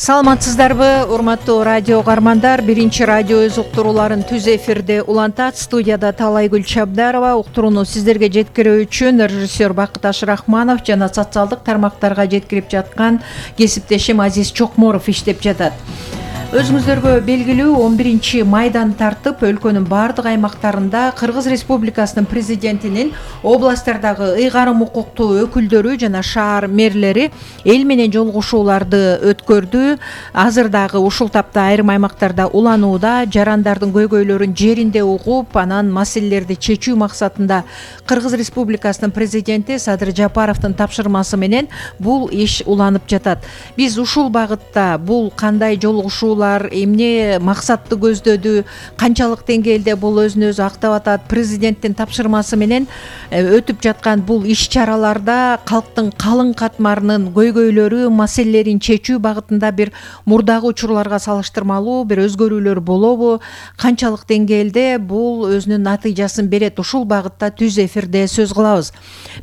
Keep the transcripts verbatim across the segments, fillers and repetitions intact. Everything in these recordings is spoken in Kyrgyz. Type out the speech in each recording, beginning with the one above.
Саламатсыздарбы, урматтуу радио угармандар. Биринчи радио өз уктурууларын түз эфирде улантат. Студияда Талайгүл Чабдарова. Уктурууну сиздерге жеткирүү үчүн режиссер Бакыт Ашрахманов жана социалдык тармактарга жеткирип жаткан кесиптешим Азиз Чокморов иштеп жатат. Өзүңүздөргө белгилүү он биринчи майдан тартып, өлкөнүн бардык аймактарында Кыргыз Республикасынын президентинин областтардагы ыйгарым укуктуу өкүлдөрү жана шаар мэрлери эл менен жолугушууларды өткөрдү. Азыр дагы ушул тапта айрым аймактарда уланууда, жарандардын көйгөйлөрүн жеринде угуп, анан маселелерди чечүү максатында Кыргыз Республикасынын президенти Садыр Жапаровдун тапшырмасы менен бул иш уланып жатат. Биз ушул багытта бул кандай жолугушуу эмне максатты көздөдү, канчалык деңгээлде бул өзүн өзү актап атат, президенттин тапшырмасы менен өтүп жаткан бул иш-чараларда калктын калың катмарынын көйгөйлөрү, маселелерин чечүү багытында бир мурдагы учурларга салыштырмалуу бир өзгөрүүлөр болобу, канчалык деңгээлде бул өзүнүн натыйжасын берет, ушул багытта түз эфирде сөз кылабыз.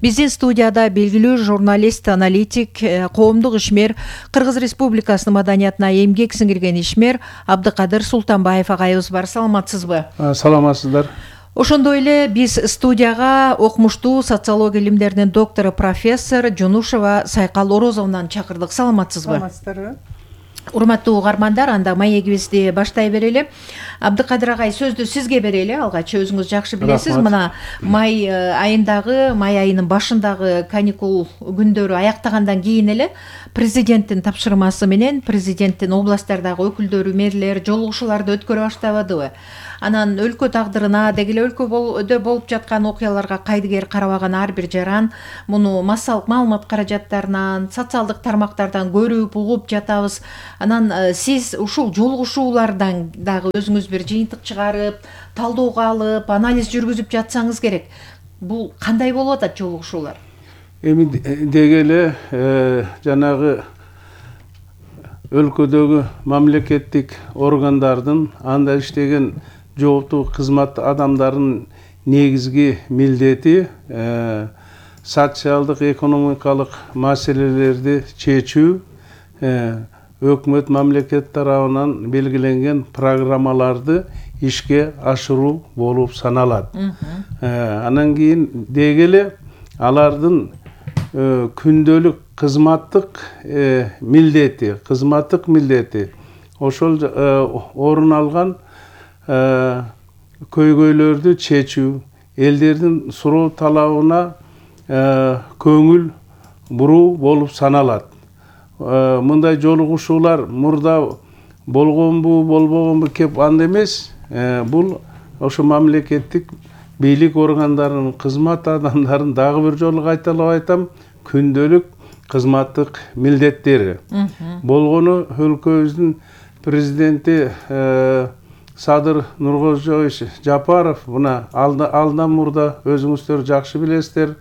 Биздин студияда белгилүү журналист, аналитик, коомдук ишмер, Кыргыз Республикасынын маданиятына эмгек сиңирген ишмер Абдыкадыр Султанбаев агайыбыз бар. Саламатсызбы? Саламатсыздар. Ошондой эле биз студияга окумуштуу социология илимдеринин доктору профессор Жунушева Сайкал Орозовнан чакырдык. Саламатсызбы? Саламатсыздарбы? Урматтуу угармандар, анда маегибизди баштай берели. Абдыкадыр агай, сөздү сизге берели. Алгач өзүңүз жакшы билесиз. Мына май айындагы, май айынын башындагы каникул күндөрү аяктагандан кийин эле президенттин тапшырмасы менен президенттин областтардагы өкүлдөрү, мэрлер жолугушууларды өткөрө баштабадыбы? Анан өлкө тагдырына, деги эле өлкөдө болуп жаткан окуяларга кайдыгер карабаган ар бир жаран муну массалык маалымат каражаттарынан, социалдык тармактардан көрүп, угуп жатабыз. Анан сиз ушул жолугушуулардан дагы өзүңүз бир жыйынтык чыгарып, талдоого алып, анализ жүргүзүп жатсаңыз керек. Бул кандай болуп атат жолугушуулар? Эми деги эле жанагы өлкөдөгү мамлекеттик органдардын, анда иштеген жооптуу кызмат адамдарынын негизги милдети социалдык, экономикалык маселелерди чечүү, өкмөт, мамлекет тарабынан белгиленген программаларды ишке ашыруу болуп саналат. Анан кийин деги эле алардын күндөлүк кызматтык милдети, кызматтык милдети ошол орун алган көйгөйлөрдү чечүү, элдердин суроо талабына көңүл буруу болуп саналат. Мындай жолугушуулар мурда болгонбу, болбогонбу кеп анда эмес. Бул ошо мамлекеттик бийлик органдарынын кызмат адамдарынын дагы бир жолу кайталап айтам, күндөлүк кызматтык милдеттери. Болгону өлкөбүздүн президенти Садыр Нуркожоевич Жапаров мына алдан мурда өзүңүздөр жакшы билесиздер,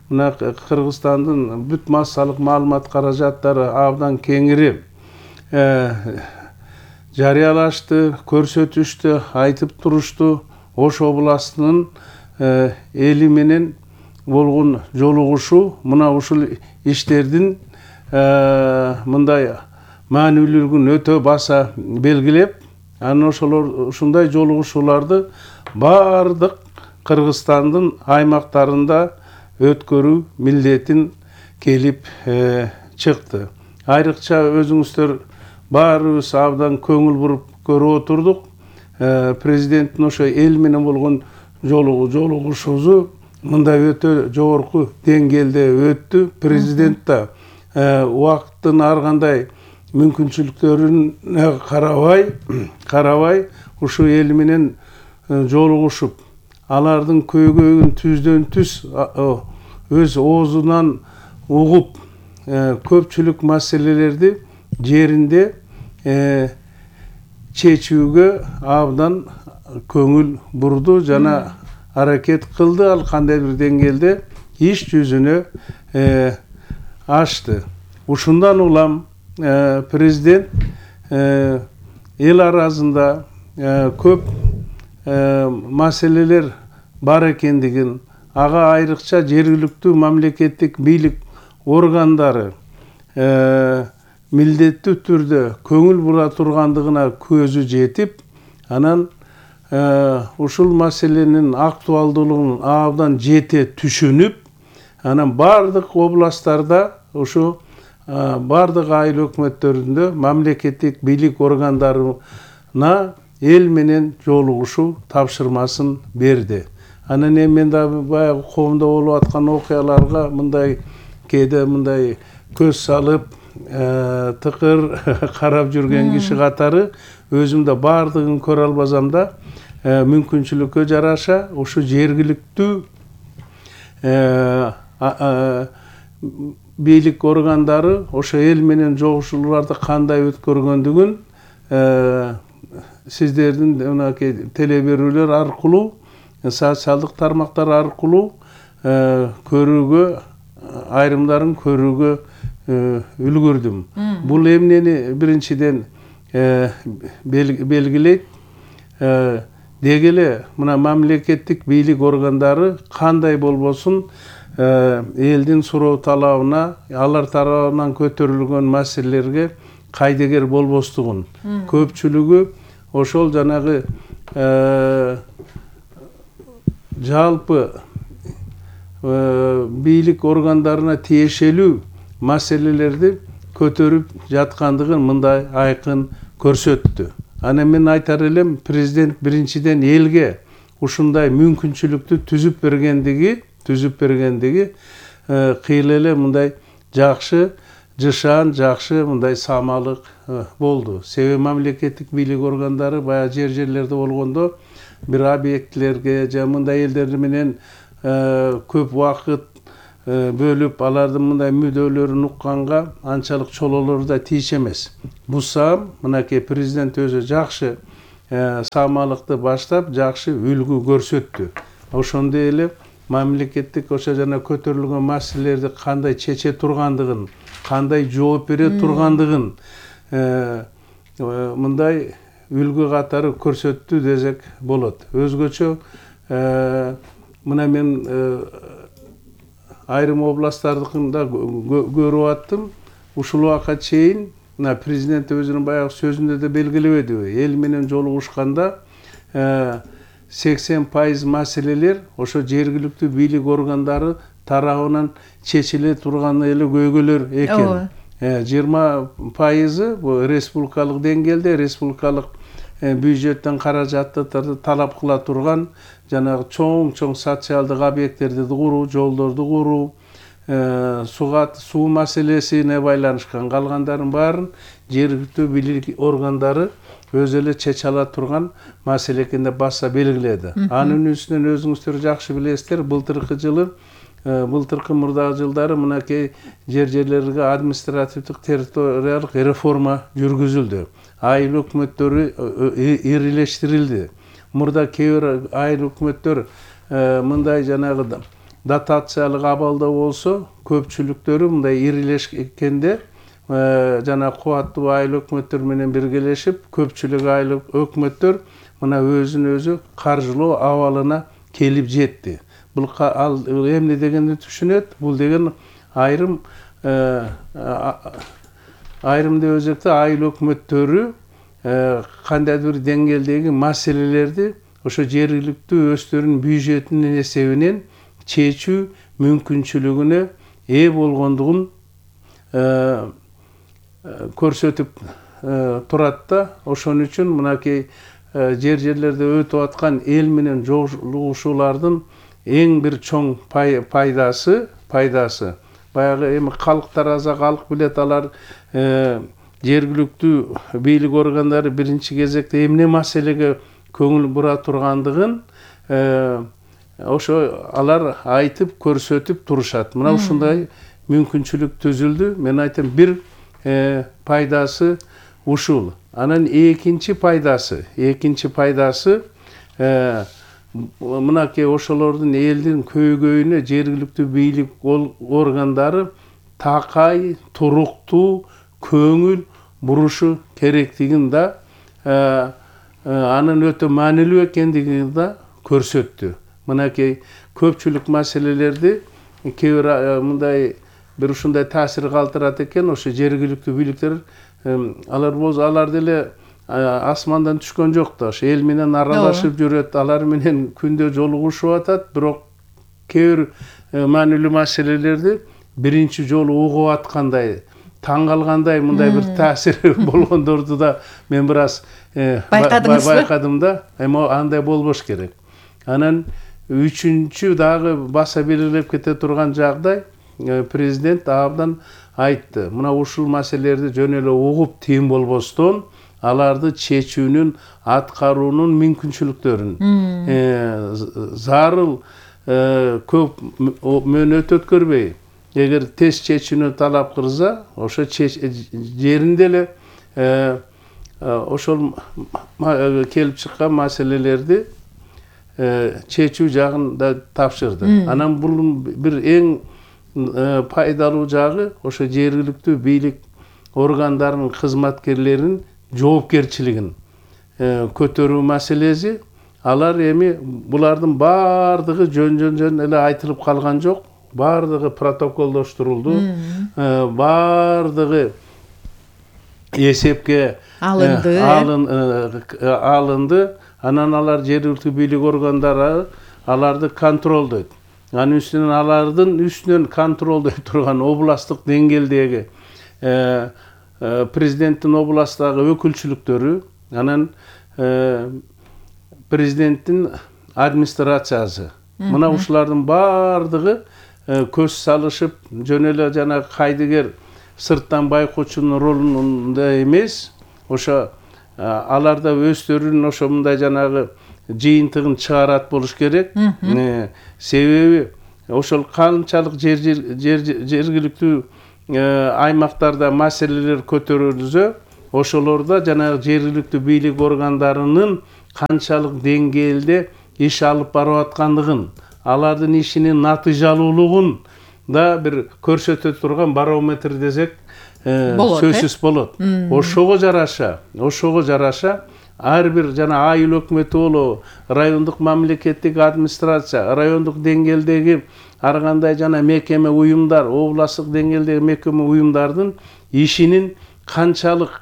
мына Кыргызстандын бүт массалык маалымат каражаттары абдан кеңири жарыялашты, көрсөтүштү, айтып турушту. Ош областынын эли менен болгон жолугушуу мына ушул иштердин мындай маанилүүлүгүн өтө баса белгилеп, анан ошолор ушундай жолугушууларды баардык Кыргызстандын аймактарында өткөрүү милдетин келип чыкты. Айрыкча өзүңүздөр баарыбыз абдан көңүл буруп көрүп отурдук. Президенттин ошо эл менен болгон жолугушуусу мындай өтө жогорку деңгээлде өттү. Президент да убакыттын ар кандай мүмкүнчүлүктөрүнө карабай, карабай ушу эл менен жолугушуп, алардын көйгөйүн түздөн түз өз оозунан угуп, көпчүлүк маселелерди жеринде чечүүгө абдан көңүл бурду жана аракет кылды. Ал кандай бир деңгээлде иш жүзүнө ашты. Ушундан улам президент эл арасында көп маселелер бар экендигин, ага айрыкча жергиликтүү мамлекеттик бийлик органдары милдеттүү түрдө көңүл бура тургандыгына көзү жетип, анан ушул маселенин актуалдуулугун абдан жете түшүнүп, анан бардык областтарда ушу бардык айыл өкмөттөрүндө мамлекеттик бийлик органдарына эл менен жолугушуу тапшырмасын берди. Анан эми мен да баягы коомдо болуп аткан окуяларга мындай кээде мындай көз салып тыкыр карап жүргөн киши катары өзүм да бардыгын көрө албасам да мүмкүнчүлүккө жараша ушу жергиликтүү бийлик органдары ошо эл менен жолугушууларды кандай өткөргөндүгүн сиздердин мынакей теле берүүлөр аркылуу, социалдык тармактар аркылуу көрүүгө, айрымдарын көрүүгө үлгүрдүм. Бул эмнени биринчиден белгилейт? Деги эле мына мамлекеттик бийлик органдары кандай болбосун элдин суроо талабына, алар тарабынан көтөрүлгөн маселелерге кайдыгер болбостугун. Көпчүлүгү ошол жанагы жалпы бийлик органдарына тиешелүү маселелерди көтөрүп жаткандыгын мындай айкын көрсөттү. Анан мен айтар элем, президент биринчиден элге ушундай мүмкүнчүлүктү түзүп бергендиги, түзүп бергендиги кыйла эле мындай жакшы, жышаан, жакшы мындай самалык болду. Себеби мамлекеттик бийлик органдары баягы жер-жерлерде болгондо бир объектилерге же мындай элдер менен көп убакыт бөлүп, алардын мындай мүдөлөрүн укканга анчалык чололору да тийиш эмес. Бусам мынакей президент өзү жакшы самалыкты баштап, жакшы үлгү көрсөттү. Ошондой эле мамлекеттик ошо жана көтөрүлгөн маселелерди кандай чече тургандыгын, кандай жооп бере тургандыгын мындай үлгү катары көрсөттү десек болот. Өзгөчө мына мен айрым областтардыкында көрүп аттым. Ушул убакка чейин мына президент өзүнүн баягы сөзүндө да белгилебедиби? Эл менен жолугушканда сексен пайыз маселелер ошо жергиликтүү бийлик органдары тарабынан чечиле турган эле көйгөйлөр экен. жыйырма пайызы бул республикалык деңгээлде, республикалык бюджеттен каражатты талап кыла турган жанагы чоң-чоң социалдык объекттерди куруу, жолдорду куруу, суга суу маселесине байланышкан, калгандарын баарын жергиликтүү бийлик органдары өзү эле чече ала турган маселе экен деп баса белгиледи. Анын үстүнөн өзүңүздөр жакшы билесиздер, былтыркы жылы, былтыркы мурдагы жылдары мынакей жер-жерлерге административдик территориялык реформа жүргүзүлдү. Айыл өкмөттөрү ирилештирилди. Мурда кээ бир айыл өкмөттөр мындай жанагы дотациялык абалда болсо, көпчүлүктөрү мындай ирилешкенде жана кубаттуу айыл өкмөттөр менен биргелешип, көпчүлүк айыл өкмөттөр мына өзүн өзү каржылоо абалына келип жетти. Бул ал эмне дегенди түшүнөт? Бул деген айрым айрым деп өзекте айыл өкмөттөрү кандайдыр бир деңгээлдеги маселелерди ошо жергиликтүү өздөрүнүн бюджетинин эсебинен чечүү мүмкүнчүлүгүнө ээ болгондугун көрсөтүп турат да. Ошон үчүн мынакей жер-жерлерде өтүп аткан эл менен жолугушуулардын эң бир чоң пайдасы, пайдасы баягы эми калк тараза, калк билет, алар жергиликтүү бийлик органдары биринчи кезекте эмне маселеге көңүл бура тургандыгын ошо алар айтып көрсөтүп турушат. Мына ушундай мүмкүнчүлүк түзүлдү. Мен айтам, бир пайдасы ушул. Анан экинчи пайдасы, экинчи пайдасы мынакей ошолордун элдин көйгөйүнө жергиликтүү бийлик органдары такай, туруктуу көңүл бурушу керектигин да, анын өтө маанилүү экендигин да көрсөттү. Мынакей көпчүлүк маселелерди кээ бир мындай бир ушундай таасир калтырат экен. Ошо жергиликтүү бийликтер алар болсо алар деле асмандан түшкөн жок да, ошо эл менен аралашып жүрөт, алар менен күндө жолугушуп атат, бирок кээ бир маанилүү маселелерди биринчи жолу угуп аткандай, таң калгандай мындай бир таасири болгондорду да мен бир аз байкадым да. Эми андай болбош керек. Анан үчүнчү дагы баса белгилеп кете турган жагдай, президент абдан айтты. Мына ушул маселелерди жөн эле угуп тыйын болбостон аларды чечүүнүн, аткаруунун мүмкүнчүлүктөрүн, зарыл көп мөөнөт өткөрбөй, эгер тез чечүүнү талап кылса, ошо жеринде эле ошол келип чыккан маселелерди чечүү жагын да тапшырды. Анан бул бир эң пайдалуу жагы ошо жергиликтүү бийлик органдарынын кызматкерлеринин жоопкерчилигин көтөрүү маселеси. Алар эми булардын баардыгы жөн-жөн жөн эле айтылып калган жок. Баардыгы протоколдоштурулду. Баардыгы эсепке алынды. Алынды. Анан алар жергиликтүү бийлик органдары аларды контролдойт. Анын үстүнөн алардын үстүнөн контролдой турган областтык деңгээлдеги президенттин областтагы өкүлчүлүктөрү, анан президенттин администрациясы. Мына ушулардын баардыгы көз салышып, жөн эле жана кайдыгер сырттан байкоочунун ролунда эмес, ошо алар да өздөрүнүн ошо мындай жанагы жыйынтыгын чыгарат болуш керек. Себеби ошол канчалык жергиликтүү аймактарда маселелер көтөрүлсө, ошолордо жанагы жергиликтүү бийлик органдарынын канчалык деңгээлде иш алып барып аткандыгын, алардын ишинин натыйжалуулугун да бир көрсөтө турган барометр десек сөзсүз болот. Ошого жараша, ошого жараша ар бир жана айыл өкмөтү болобу, райондук мамлекеттик администрация, райондук деңгээлдеги ар кандай жана мекеме уюмдар, областтык деңгээлдеги мекеме уюмдардын ишинин канчалык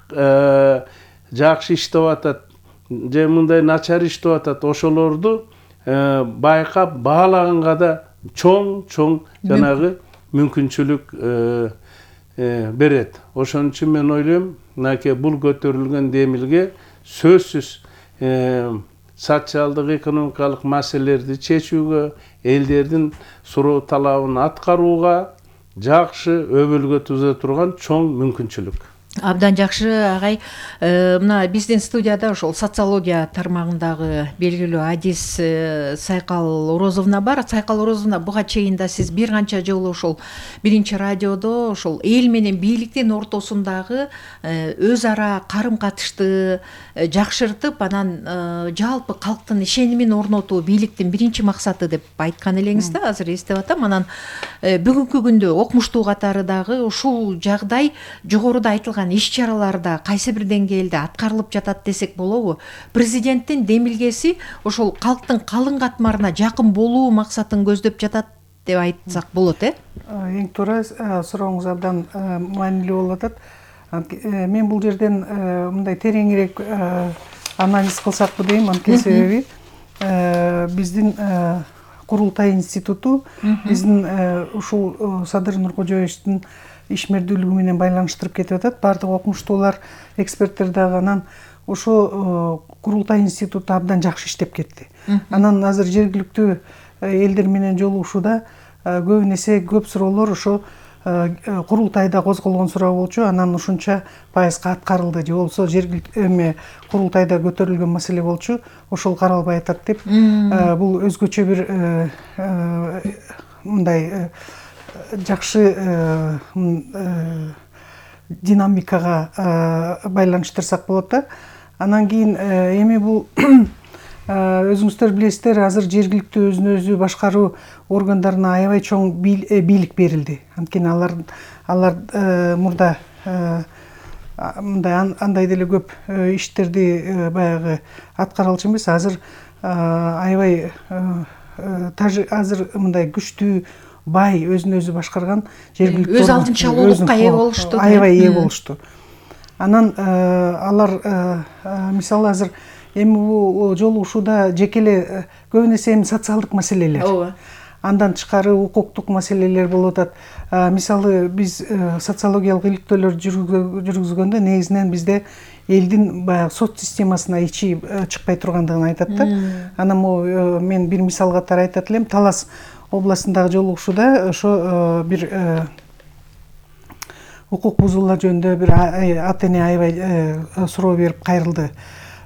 жакшы иштеп атат же мындай начар иштеп атат, ошолорду байкап баалаганга да чоң-чоң жанагы мүмкүнчүлүк берет. Ошон үчүн мен ойлойм, мынакей бул көтөрүлгөн демилге сөзсүз социалдык экономикалык маселелерди чечүүгө, элдердин суроо талабын аткарууга жакшы өбөлгө түзө турган чоң мүмкүнчүлүк. Абдан жакшы агай. Мына биздин студияда ошол социология тармагындагы белгилүү адис Сайкал Орозовна бар. Сайкал Орозовна, буга чейин да сиз бир канча жолу ошол биринчи радиодо ошол эл менен бийликтин ортосундагы өз ара карым катышты жакшыртып, анан жалпы калктын ишенимин орнотуу бийликтин биринчи максаты деп айткан элеңиз да, азыр эстеп атам. Анан бүгүнкү күндө окумуштуу катары дагы ушул жагдай жогоруда айтылган иш-чараларда кайсы бир деңгээлде аткарылып жатат десек болобу? Президенттин демилгеси ошол калктын калың катмарына жакын болуу максатын көздөп жатат деп айтсак болот, э? Эң туура сурооңуз абдан маанилүү болуп атат. Мен бул жерден мындай тереңирээк анализ кылсакпы дейм. Анткени себеби биздин Курултай институту биздин ушул Садыр Нуркожоевичтин ишмердүүлүгү менен байланыштырып кетип атат. Баардык окумуштуулар, эксперттер дагы анан ошо Курултай институту абдан жакшы иштеп кетти. Анан азыр жергиликтүү элдер менен жолугушууда көп эсе көп суроолор ошо Курултайда козголгон суроо болчу. Анан ушунча пайызга аткарылды же болбосо жергиликтүү эме Курултайда көтөрүлгөн маселе болчу, ошол каралбай атат деп. Бул өзгөчө бир мындай жакшы динамикага байланыштырсак болот да. Анан кийин эми бул өзүңүздөр билесиздер, азыр жергиликтүү өзүн өзү башкаруу органдарына аябай чоң бийлик берилди. Анткени алар алар мурда мындай андай деле көп иштерди баягы аткара алчу эмес. Азыр аябай азыр мындай күчтүү бай, өзүн өзү башкарган жергиликтүү өз алдынча улуулукка ээ болушту. Аябай ээ болушту. Анан алар мисалы азыр эми бул жолугушууда жеке эле көбүн эсе эми социалдык маселелер. Ооба. Андан тышкары укуктук маселелер болуп атат. Мисалы биз социологиялык иликтөөлөр жүргүзгөндө негизинен бизде элдин баягы сот системасына ичи чыкпай тургандыгын айтат да. Анан могу мен бир мисал катары айтат элем. Талас областындагы жолугушууда ошо бир укук бузуулар жөнүндө бир ата эне аябай суроо берип кайрылды.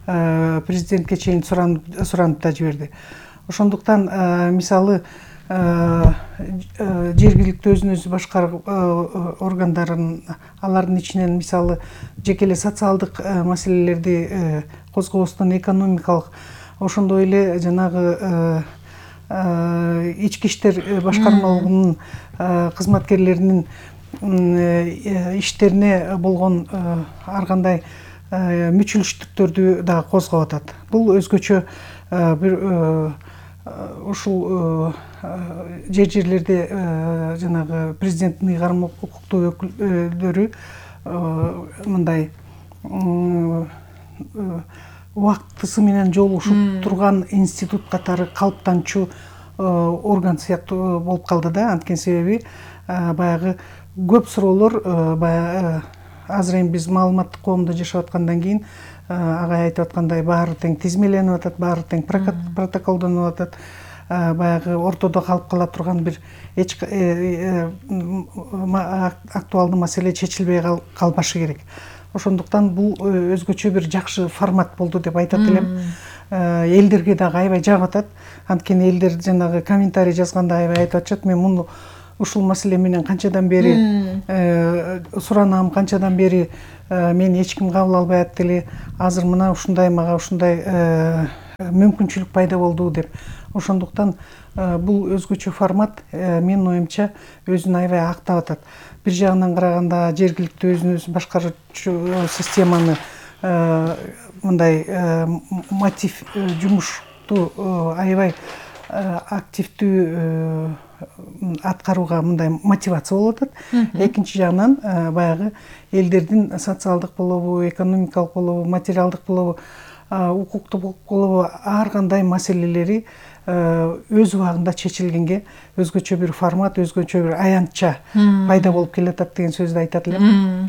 Президентке чейин суранып да жиберди. Ошондуктан мисалы жергиликтүү өзүн өзү башкаруу органдарын алардын ичинен мисалы жеке эле социалдык маселелерди козгобостон экономикалык ошондой эле жанагы ички иштер башкармалыгынын кызматкерлеринин иштерине болгон ар кандай мүчүлүштүктөрдү дагы козгоп атат. Бул өзгөчө бир ушул жер жерлерде жанагы президенттин ыйгарым укуктуу өкүлдөрү мындай убактысы менен жолугушуп турган институт катары калыптанчу орган сыяктуу болуп калды да. Анткени себеби баягы көп суроолор баягы азыр эми биз маалыматтык коомдо жашап аткандан кийин агай айтып аткандай баары тең тизмеленип атат, баары тең протоколдонуп атат. Баягы ортодо калып кала турган бир эч актуалдуу маселе чечилбей калбашы керек. Ошондуктан бул өзгөчө бир жакшы формат болду деп айтат элем. Элдерге дагы аябай жагып атат. Анткени элдер жанагы комментарий жазганда аябай айтып атышат. Мен муну ушул маселе менен канчадан бери суранам, канчадан бери мени эч ким кабыл албай атты эле. Азыр мына ушундай мага ушундай мүмкүнчүлүк пайда болду деп. Ошондуктан бул өзгөчө формат менин оюмча өзүн аябай актап атат. Бир жагынан караганда жергиликтүү өзүн өзү башкаруучу системаны мындай мотив жумушту аябай активдүү аткарууга мындай мотивация болуп атат. Экинчи жагынан баягы элдердин социалдык болобу, экономикалык болобу, материалдык болобу, укуктук болобу ар кандай маселелери өз убагында чечилгенге өзгөчө бир формат, өзгөчө бир аянтча пайда болуп келатат деген сөздү айтат элем.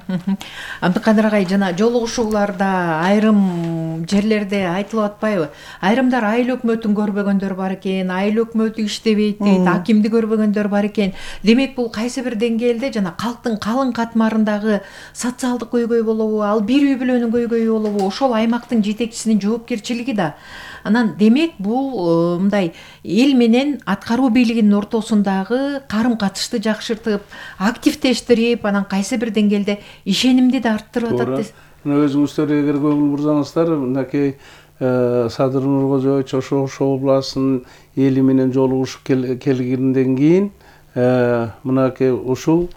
Абдыкадыр агай, жана жолугушууларда айрым жерлерде айтылып атпайбы? Айрымдар айыл өкмөтүн көрбөгөндөр бар экен, айыл өкмөтү иштебейт дейт, акимди көрбөгөндөр бар экен. Демек бул кайсы бир деңгээлде жана калктын калың катмарындагы социалдык көйгөй болобу, ал бир үй бүлөнүн көйгөйү болобу, ошол аймактын жетекчисинин жоопкерчилиги да. Анан демек бул мындай эл менен аткаруу бийлигинин ортосундагы карым-катышты жакшыртып, активдештирип, анан кайсы бир деңгээлде ишенимди да арттырып атат. Мына өзүңүздөр эгер көңүл бурсаңыздар, мынакей Садыр Нуркожоевич ошо ошо областынын эли менен жолугушуп келгенден кийин мынакей ушул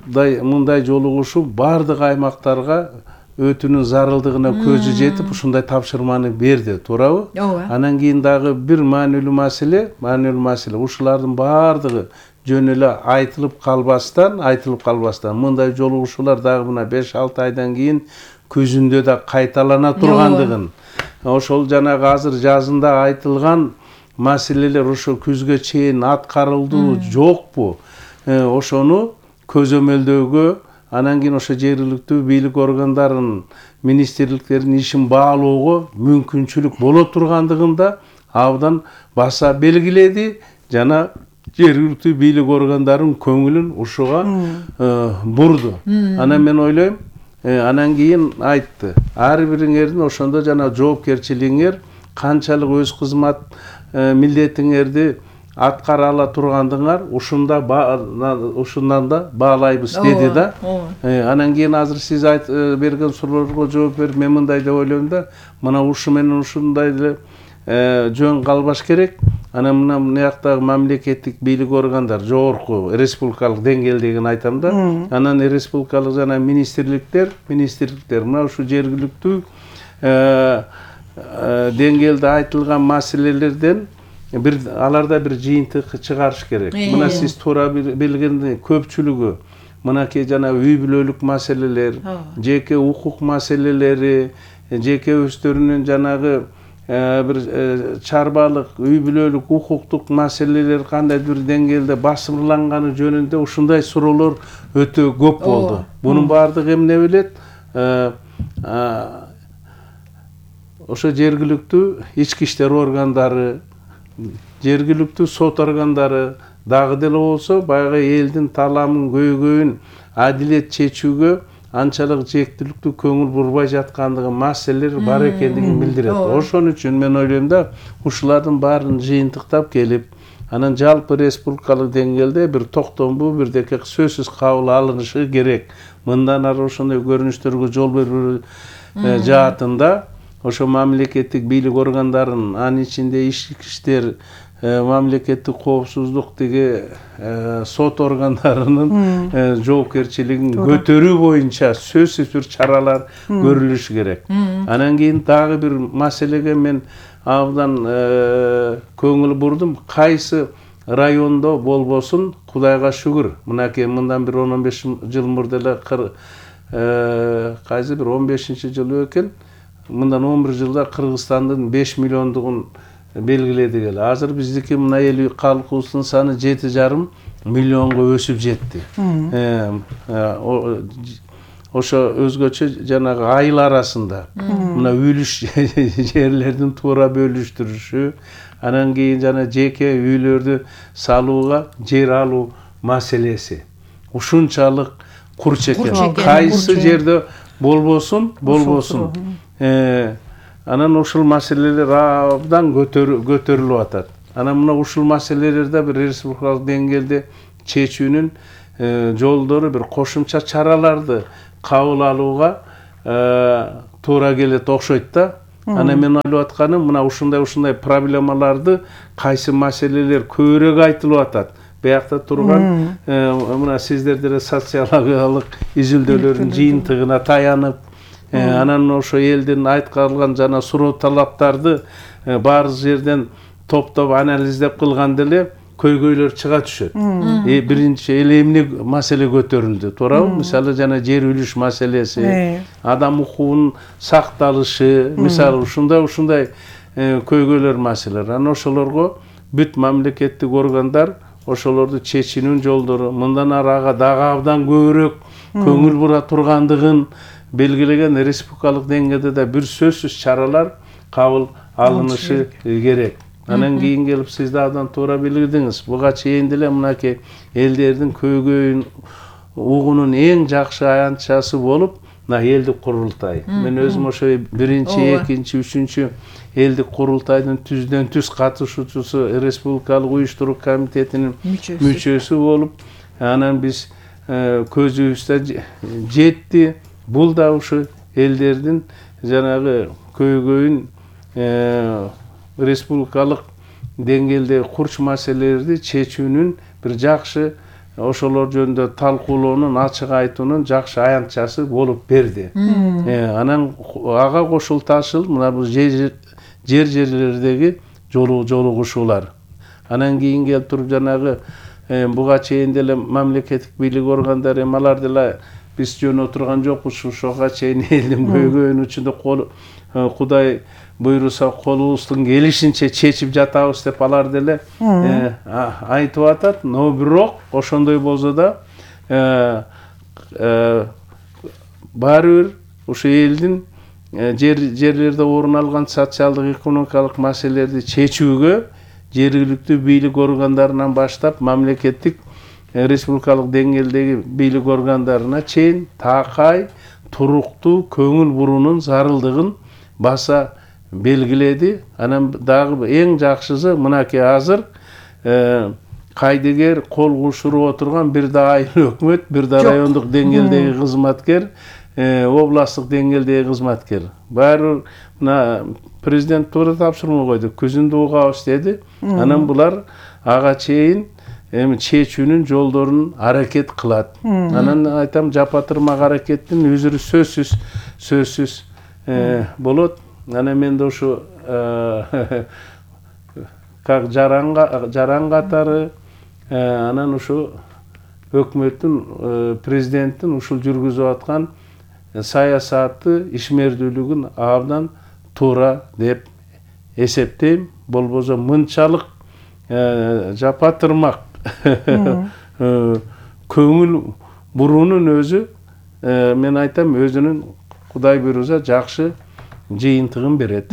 мындай жолугушуу бардык аймактарга өтүүнүн зарылдыгына көзү жетип ушундай тапшырманы берди, туурабы? Ооба. Анан кийин дагы бир маанилүү маселе, маанилүү маселе ушулардын бардыгы жөн эле айтылып калбастан, айтылып калбастан мындай жолугушуулар дагы мына беш алты айдан кийин күзүндө да кайталана тургандыгын, ошол жанагы азыр жазында айтылган маселелер ошо күзгө чейин аткарылдуу жокпу? Ошону көзөмөлдөөгө, анан кийин ошо жергиликтүү бийлик органдарынын, министрликтердин ишин баалоого мүмкүнчүлүк боло тургандыгын да абдан баса белгиледи жана жергиликтүү бийлик органдарынын көңүлүн ушуга бурду. Анан мен ойлойм, анан кийин айтты, ар бириңердин ошондо жана жоопкерчилигиңер канчалык өз кызмат милдетиңерди аткара ала тургандыгыңар ушунда ушундан да баалайбыз деди да. Анан кийин азыр сиз берген суроолорго жооп берип мен мындай деп ойлойм да, мына ушу менен ушундай эле жөн калбаш керек. Анан мына мынаяктагы мамлекеттик бийлик органдар, жогорку республикалык деңгээлдегин айтам да. Анан республикалык жана министрликтер, министрликтер мына ушу жергиликтүү деңгээлде айтылган маселелерден бир аларда бир жыйынтык чыгарыш керек. Мына сиз туура билгендей көпчүлүгү мынакей жана үй бүлөлүк маселелер, жеке укук маселелери, жеке өздөрүнүн жанагы бир чарбалык үй бүлөлүк укуктук маселелер кандайдыр бир деңгээлде басымдалганы жөнүндө ушундай суроолор өтө көп болду. Бунун баардыгы эмне билет? Ошо жергиликтүү ички иштер органдары, жергиликтүү сот органдары дагы деле болсо баягы элдин таламын көйгөйүн адилет чечүүгө анчалык жээктүүлүктүү көңүл бурбай жаткандыгы маселелер бар экендигин билдирет. Ошон үчүн мен ойлойм да, ушулардын баарын жыйынтыктап келип, анан жалпы республикалык деңгээлде бир токтомдуу бирдеке сөзсүз кабыл алынышы керек. Мындан ары ошондой көрүнүштөргө жол берүү жаатында ошо мамлекеттик бийлик органдарынын, анын ичинде ички иштер, мамлекеттик коопсуздук тиги сот органдарынын жоопкерчилигин көтөрүү боюнча сөзсүз бир чаралар көрүлүшү керек. Анан кийин дагы бир маселеге мен абдан көңүл бурдум. Кайсы райондо болбосун, Кудайга шүгүр, мынакей мындан бир он он беш жыл мурда эле кайсы бир он бешинчи жылы экен, мындан он бир жылда Кыргызстандын беш миллиондугун белгиледик эле. Азыр биздики мына эл калкыбыздын саны жети жарым миллионго өсүп жетти. Ошо өзгөчө жанагы айыл арасында мына үлүш жерлердин туура бөлүштүрүшү, анан кийин жана жеке үйлөрдү салууга жер алуу маселеси ушунчалык курч экен. Кайсы жерде болбосун, болбосун. Анан ушул маселелер абдан көтөрүлүп атат. Анан мына ушул маселелерде бир республикалык деңгээлде чечүүнүн жолдору, бир кошумча чараларды кабыл алууга туура келет окшойт да. Анан мен ойлоп атканым, мына ушундай-ушундай проблемаларды, кайсы маселелер көбүрөөк айтылып атат. Биякта турган мына сиздер деле социологиялык изилдөөлөрдүн жыйынтыгына таянып, анан ошо элдин айткалган жана суроо талаптарды баары жерден топтоп анализдеп кылган деле көйгөйлөр чыга түшөт. Биринчи эле эмне маселе көтөрүлдү, туурабы? Мисалы жана жер үлүш маселеси, адам укугунун сакталышы, мисалы ушундай-ушундай көйгөйлөр маселелер. Анан ошолорго бүт мамлекеттик органдар ошолорду чечүүнүн жолдору, мындан ары ага дагы абдан көбүрөөк көңүл бура тургандыгын белгилеген республикалык деңгээлде да бир сөзсүз чаралар кабыл алынышы керек. Анан кийин келип сиз да абдан туура билдиңиз. Буга чейин деле мынакей элдердин көйгөйүн угуунун эң жакшы аянтчасы болуп, мына элдик курултай. Мен өзүм ошо биринчи, экинчи, үчүнчү элдик курултайдын түздөн түз катышуучусу, республикалык уюштуруу комитетинин мүчөсү болуп, анан биз көзүбүздө жетти. Бул да ушу элдердин жанагы көйгөйүн республикалык деңгээлде курч маселелерди чечүүнүн бир жакшы, ошолор жөнүндө талкуулоонун, ачык айтуунун жакшы аянтчасы болуп берди. Анан ага кошулташыл мына бул жер жерлердеги жолугушуулар. Анан кийин келип туруп жанагы буга чейин деле мамлекеттик бийлик органдары, алар деле биз жөн отурган жокпуз, ушуга чейин элдин көйгөйүнүн үчүндө Кудай буйруса колубуздун келишинче чечип жатабыз деп алар деле айтып атат. Но бирок ошондой болсо да баары бир ушу элдин жерлерде орун алган социалдык экономикалык маселелерди чечүүгө жергиликтүү бийлик органдарынан баштап мамлекеттик республикалык деңгээлдеги бийлик органдарына чейин такай туруктуу көңүл буруунун зарылдыгын баса белгиледи. Анан дагы эң жакшысы мынакей азыр кайдыгер кол кушуруп отурган бир да айыл өкмөт, бир да райондук деңгээлдеги кызматкер, областтык деңгээлдеги кызматкер. Баары мына президент туура тапшырма койду, күзүндө угабыз деди. Анан булар ага чейин эми чечүүнүн жолдорун аракет кылат. Анан айтам, жапатырмак аракеттин өзүрү сөзсүз сөзсүз болот. Анан мен да ушу как жаранга жаран катары, анан ушу өкмөттүн, президенттин ушул жүргүзүп аткан саясаты, ишмердүүлүгүн абдан туура деп эсептейм. Болбосо мынчалык жапатырмак көңүл буруунун өзү, мен айтам, өзүнүн Кудай буйруса жакшы жыйынтыгын берет.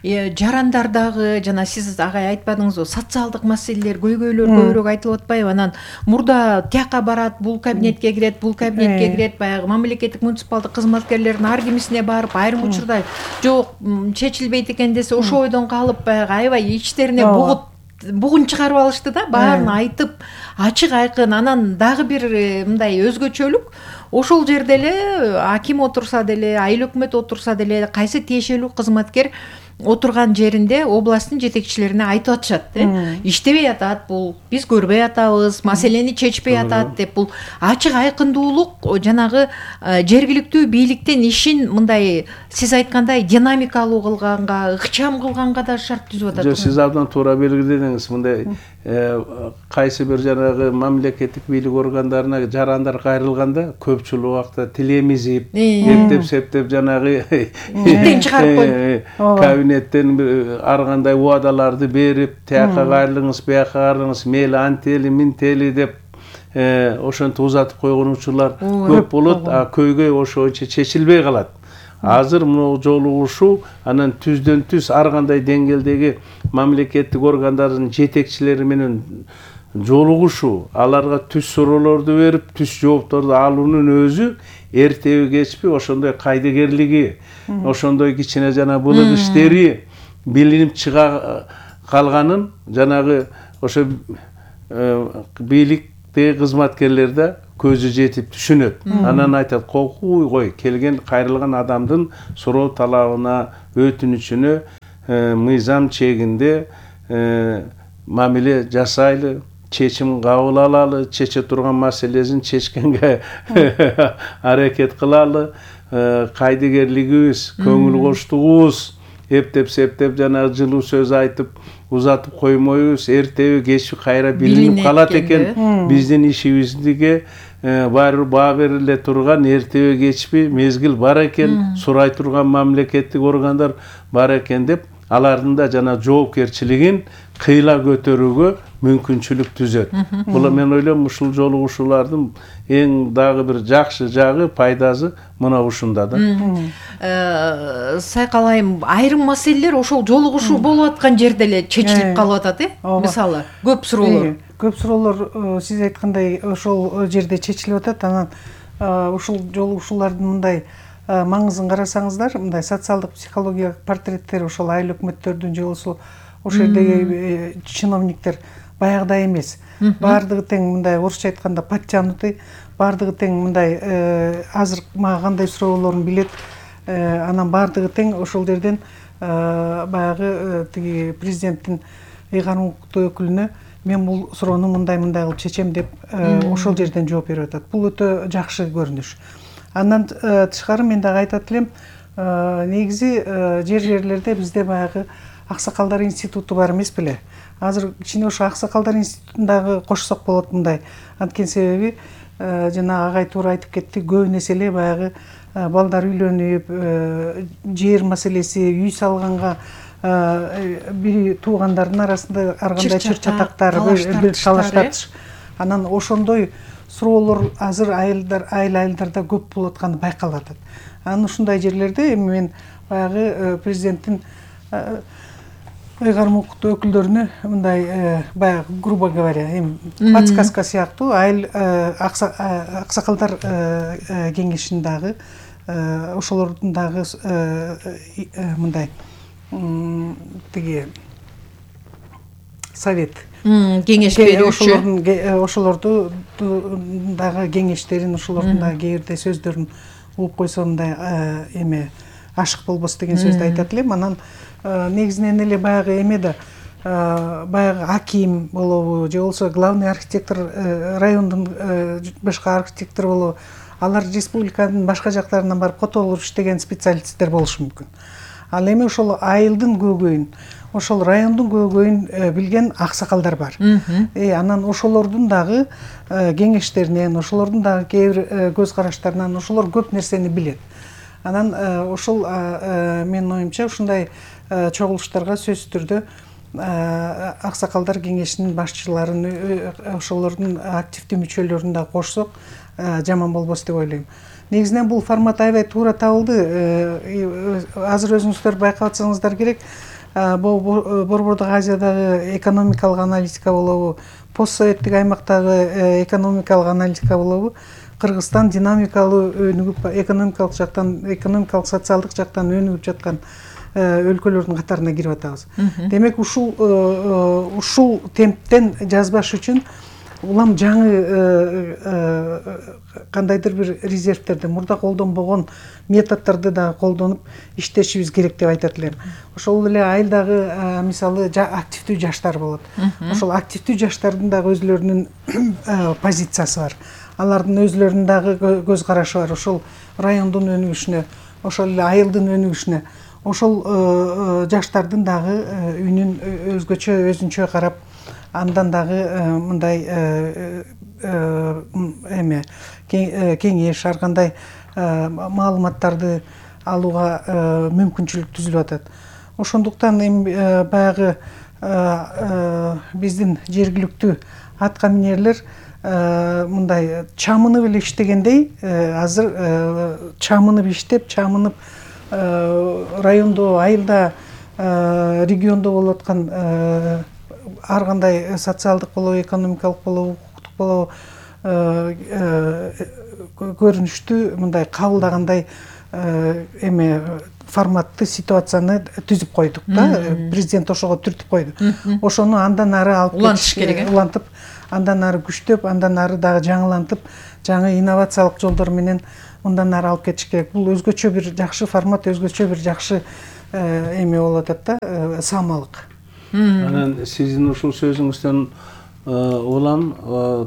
Жарандар дагы жана сиз агай айтпадыңызбы, социалдык маселелер, көйгөйлөр көбүрөөк айтылып атпайбы? Анан мурда тияка барат, бул кабинетке кирет, бул кабинетке кирет, баягы мамлекеттик муниципалдык кызматкерлердин ар кимисине барып, айрым учурда жок чечилбейт экен десе, ошо ойдон калып баягы аябай ичтерине бугут бугун чыгарып алышты да, баарын айтып, ачык айкын. Анан дагы бир мындай өзгөчөлүк, ошол жерде эле аким отурса деле, айыл өкмөт отурса деле, кайсы тиешелүү кызматкер отурган жеринде областтын жетекчилерине айтып атышат, иштебей атат бул, биз көрбөй атабыз, маселени чечпей атат деп. Бул ачык айкындуулук жанагы жергиликтүү бийликтин ишин мындай сиз айткандай динамикалуу кылганга, ыкчам кылганга да шарт түзүп атат. Жок, сиз абдан туура белгиледиңиз. Мындай кайсы бир жанагы мамлекеттик бийлик органдарына жарандар кайрылганда көпчүлүк убакта тилемизип, эптеп септеп жанагы иштен чыгарып коюп, кабинеттен ар кандай убадаларды берип, тияка кайрылыңыз, бияка кайрылыңыз, мейли антели минтели деп ошентип узатып койгон учурлар көп болот, а көйгөй ошончо чечилбей калат. Азыр мына жолугушуу анан түздөн түз ар кандай деңгээлдеги мамлекеттик органдардын жетекчилери менен жолугушуу, аларга түз суроолорду берип, түз жоопторду алуунун өзү эртеби кечпи ошондой кайдыгерлиги, ошондой кичине жана былык иштери билинип чыга калганын жанагы ошо бийликтеги кызматкерлер да көзү жетип түшүнөт. Анан айтат, кокуй кой, келген кайрылган адамдын суроо талабына, өтүнүчүнө мыйзам чегинде мамиле жасайлы, чечим кабыл алалы, чече турган маселесин чечкенге аракет кылалы, кайдыгерлигибиз, көңүл коштугубуз, эптеп септеп жана жылуу сөз айтып узатып коймойбуз, эртеби кечпи кайра билинип калат экен. Биздин ишибизге баары баа бериле турган эртеби кечпи мезгил бар экен, сурай турган мамлекеттик органдар бар экен деп, алардын да жана жоопкерчилигин кыйла көтөрүүгө мүмкүнчүлүк түзөт. Бул мен ойлойм, ушул жолугушуулардын эң дагы бир жакшы жагы, пайдасы мына ушунда да. Сайкалайым, айрым маселелер ошол жолугушуу болуп аткан жерде эле чечилип калып атат, э? Мисалы, көп суроолор. Көп суроолор сиз айткандай ошол жерде чечилип атат. Анан ушул жолугушуулардын мындай маңызын карасаңыздар, мындай социалдык психологиялык портреттер ошол айыл өкмөттөрдүн же болбосо ошол жердеги чиновниктер баягыдай эмес. Баардыгы тең мындай орусча айтканда подтянутый, баардыгы тең мындай азыр мага кандай суроолорун билет. Анан баардыгы тең ошол жерден баягы тиги президенттин ыйгарым укуктуу өкүлүнө мен бул суроону мындай-мындай кылып чечем деп ошол жерден жооп берип атат. Бул өтө жакшы көрүнүш. Андан тышкары мен дагы айтат элем, негизи жер-жерлерде бизде баягы аксакалдар институту бар эмес беле? Азыр кичине ошо аксакалдар институтундагы кошсок болот мындай. Анткени себеби жана агай туура айтып кетти, көп нерсе эле баягы балдар үйлөнүп, жер маселеси, үй салганга бири туугандардын арасында ар кандай чыр чатактар, талаш тартыш. Анан ошондой суроолор азыр айылдар, айыл айылдарда көп болуп атканы байкалып атат. Анан ушундай жерлерде эми мен баягы президенттин ыйгарым укуктуу өкүлдөрүнө мындай баягы грубо говоря, эми подсказка сыяктуу айыл аксакалдар кеңешин дагы ошолордун дагы мындай тиги совет кеңеш берүүчү ошолорду дагы кеңештерин, ошолордун дагы кээ бирдей сөздөрүн угуп койсо мындай эме ашык болбос деген сөздү айтат элем. Анан негизинен эле баягы эме да баягы аким болобу же болбосо главный архитектор, райондун башка архитектор болобу, алар республиканын башка жактарынан барып котолуп иштеген специалисттер болушу мүмкүн. Ал эми ошол айылдын көйгөйүн, ошол райондун көйгөйүн билген аксакалдар бар. Э анан ошолордун дагы кеңештеринен, ошолордун дагы кээ бир көз караштарынан ошолор көп нерсени билет. Анан ошол менин оюмча ушундай чогулуштарга сөзсүз түрдө аксакалдар кеңешинин башчыларын, ошолордун активдүү мүчөлөрүн да кошсок жаман болбос деп ойлойм. Негизинен бул формат аябай туура табылды. Азыр өзүңүздөр байкап атсаңыздар керек, Борбордук Азиядагы экономикалык аналитика болобу, постсоветтик аймактагы экономикалык аналитика болобу, Кыргызстан динамикалуу өнүгүп, экономикалык жактан, экономикалык социалдык жактан өнүгүп жаткан өлкөлөрдүн катарына кирип атабыз. Демек ушул ушул темптен жазбаш үчүн улам жаңы кандайдыр бир резервтерди, мурда колдонбогон методдорду да колдонуп иштешибиз керек деп айтат элем. Ошол эле айылдагы мисалы активдүү жаштар болот. Ошол активдүү жаштардын дагы өзлөрүнүн позициясы бар. Алардын өзлөрүнүн дагы көз карашы бар. Ошол райондун өнүгүшүнө, ошол эле айылдын өнүгүшүнө, ошол жаштардын дагы үнүн өзгөчө, өзүнчө карап, андан дагы мындай эме кеңеш, ар кандай маалыматтарды алууга мүмкүнчүлүк түзүлүп атат. Ошондуктан эми баягы биздин жергиликтүү аткаминерлер мындай чамынып эле иштегендей, азыр чамынып иштеп, чамынып райондо, айылда, региондо болуп аткан ар кандай социалдык болобу, экономикалык болобу, укуктук болобу көрүнүштү мындай кабылдагандай эме форматты ситуацияны түзүп койдук да. Президент ошого түртүп койду. Ошону андан ары алып улантыш керек. Улантып, андан ары күчтөп, андан ары дагы жаңылантып, жаңы инновациялык жолдор менен мындан ары алып кетиш керек. Бул өзгөчө бир жакшы формат, өзгөчө бир жакшы эме болуп атат да, самалык. Анан сиздин ушул сөзүңүздөн улам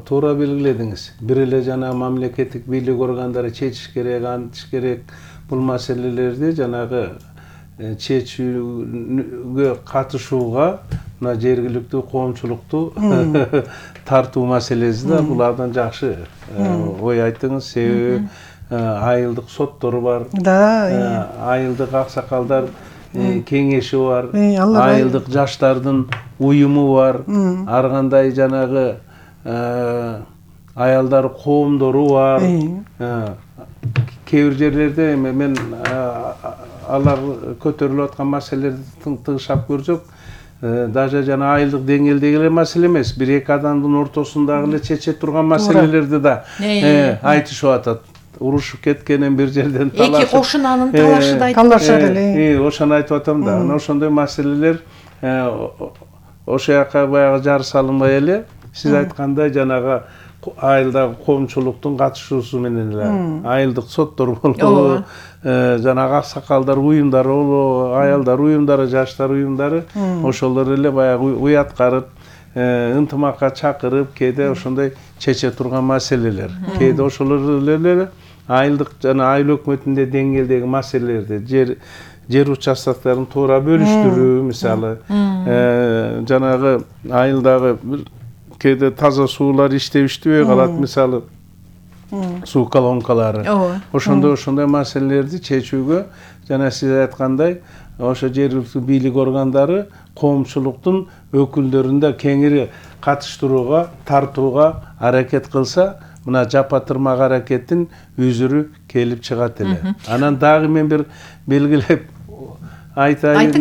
туура белгиледиңиз. Бир эле жана мамлекеттик бийлик органдары чечиш керек, антыш керек бул маселелерди жанагы чечүүгө катышууга мына жергиликтүү коомчулукту тартуу маселеси да бул абдан жакшы ой айттыңыз. Себеби айылдык соттор бар, айылдык аксакалдар кеңеши бар, айылдык жаштардын уюму бар, ар кандай жанагы аялдар коомдору бар. Кээ бир жерлерде мен алар көтөрүлүп аткан маселелерди тыгышап көрсөк, даже жана айылдык деңгээлдеги эле маселе эмес, бир эки адамдын ортосундагы эле чече турган маселелерди да айтышып атат. Урушуп кеткенин, бир жерден талашып, эки кошунанын талашы да талашат эле. Ошону айтып атам да. Анан ошондой маселелер ошо жака баягы жар салынбай эле, сиз айткандай жанагы айылдагы коомчулуктун катышуусу менен эле айылдык соттор болобу, жанагы аксакалдар уюмдары болобу, аялдар уюмдары, жаштар уюмдары ошолор эле баягы уяткарып, ынтымакка чакырып, кээде ошондой чече турган маселелер, кээде ошолор эле айылдык жана айыл өкмөтүндө деңгээлдеги маселелерди, жер жер участоктарын туура бөлүштүрүү, мисалы, жанагы айылдагы кээде таза суулар иштебиштебей калат, мисалы, суу колонкалары. Ошондой ошондой маселелерди чечүүгө жана сиз айткандай ошо жергиликтүү бийлик органдары коомчулуктун өкүлдөрүн да кеңири катыштырууга, тартууга аракет кылса, мына жапа тырмак аракеттин үзүрү келип чыгат эле. Анан дагы мен бир белгилеп айтайын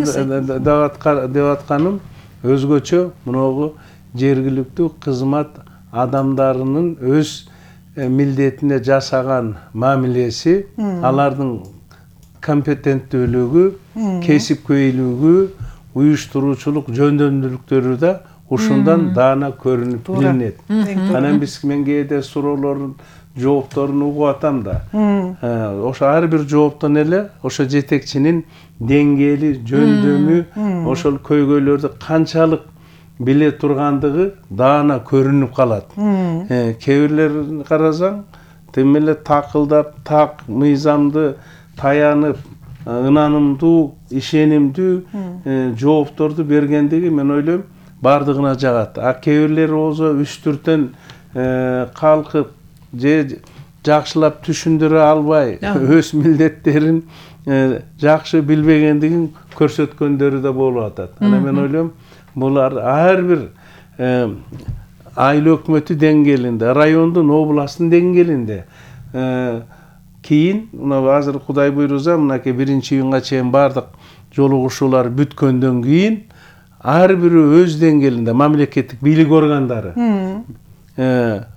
деп атканым, өзгөчө мыногу жергиликтүү кызмат адамдарынын өз милдетине жасаган мамилеси, алардын компетенттүүлүгү, кесипкөйлүгү, уюштуруучулук жөндөмдүүлүктөрү да ушундан даана көрүнүп билинет. Анан биз мен кээде суроолордун жоопторун угуп атам да. Ошо ар бир жооптон эле ошо жетекчинин деңгээли, жөндөмү, ошол көйгөйлөрдү канчалык биле тургандыгы даана көрүнүп калат. Кээ бирлерин карасаң, тим эле такылдап, так мыйзамды таянып, ынанымдуу, ишенимдүү жоопторду бергендиги мен ойлойм бардыгына жагат. А кээ бирлери болсо үстүртөн калкып же жакшылап түшүндүрө албай өз милдеттерин жакшы билбегендигин көрсөткөндөрү да болуп атат. Ана мен ойлойм булар ар бир айыл өкмөтү деңгээлинде, райондун, областтын деңгээлинде кийин мына азыр Кудай буйруза мынакей биринчи июнга чейин бардык жолугушуулар бүткөндөн кийин ар бири өз деңгээлинде мамлекеттик бийлик органдары,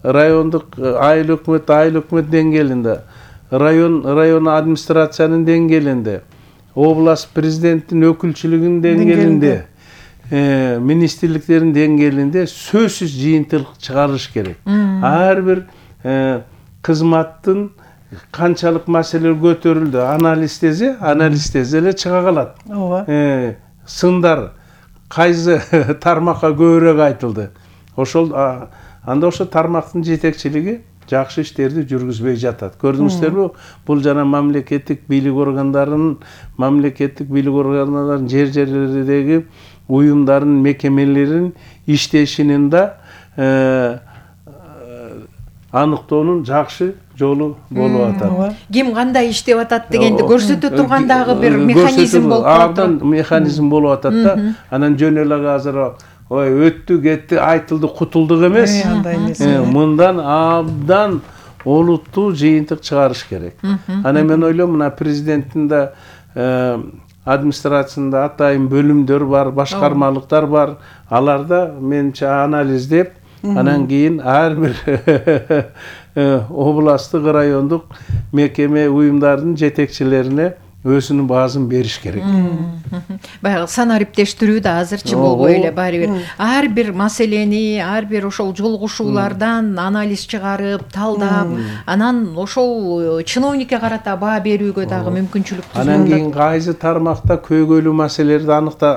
райондук айыл өкмөт, айыл өкмөт деңгээлинде, район район администрациянын деңгээлинде, область президенттин өкүлчүлүгүнүн деңгээлинде, министрликтердин деңгээлинде сөзсүз жыйынтык чыгарыш керек. Ар бир кызматтын канчалык маселелер көтөрүлдү, анализдесе, анализдесе эле чыга калат. Ооба. Сындар кайсы тармакка көбүрөөк айтылды. Ошол анда ошо тармактын жетекчилиги жакшы иштерди жүргүзбөй жатат. Көрдүңүздөрбү? Бул жана мамлекеттик бийлик органдарынын, мамлекеттик бийлик органдарынын жер жерлердеги уюмдардын, мекемелеринин иштешинин да аныктоонун жакшы жолу болуп атат. Ким кандай иштеп атат дегенди көрсөтө турган дагы бир механизм болуп атат. Абдан механизм болуп атат да. Анан жөн эле азыр ой өттү, кетти, айтылды, кутулдук эмес. Мындан абдан олуттуу жыйынтык чыгарыш керек. Ана мен ойлойм мына президенттин да администрациясында атайын бөлүмдөр бар, башкармалыктар бар. Аларда менче анализдеп, анан кийин ар бир областтык, райондук мекеме, уюмдардын жетекчилерине өзүнүн баазын бериш керек. Баягы санариптештирүү да азырчы болбой эле баары бир ар бир маселени, ар бир ошол жолугушуулардан анализ чыгарып, талдап, анан ошол чиновникке карата баа берүүгө дагы мүмкүнчүлүк түзүп. Анан кийин кайсы тармакта көйгөйлүү маселелерди аныкта